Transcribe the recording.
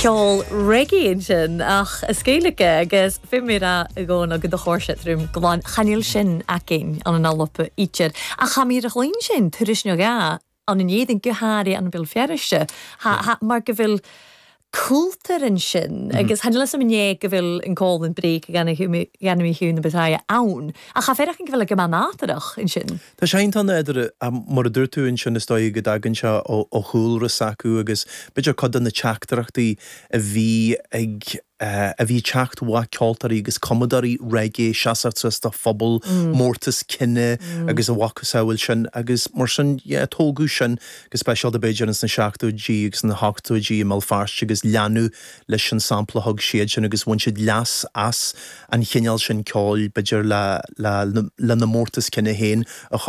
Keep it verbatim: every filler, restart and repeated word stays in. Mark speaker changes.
Speaker 1: Ceol reggae ansin ach as Gaeilge agus fi mé a gcóna go do chóir se trúm glan chan eil sin againn ann an Alba ítir a cha mír a chlín sin turis nó ga an an éidir go háirithe an Béal Feirste mar go bhfuil cultúr ansin agus han le inné go bhfuil an call an break gan mí hiú na betaia ann a cha féach go bhfuil go nátarach ansin.
Speaker 2: Tá sé an idir mar a dúirt tú ansin is dóigh go dtagann sé ó chúlra s'acu agus b'fhéidir cuid de na teachtaireachtaí a bhí ag a bhí teacht mhaith ceoltóirí agus cumadóirí reggae seasamh suas do phobal mm. mórtas cine mm. agus a mhacasamhail sin agus mar sin tógadh sin go speisialta b'fhéidir ins na seachtóidí agus na hochtóidí i mBéal Feirste agus leanadh leis an sampla thug siad sin agus bhain siad leas as an chineál sin ceoil b'fhéidir le, le, le na mórtas cine féin a chur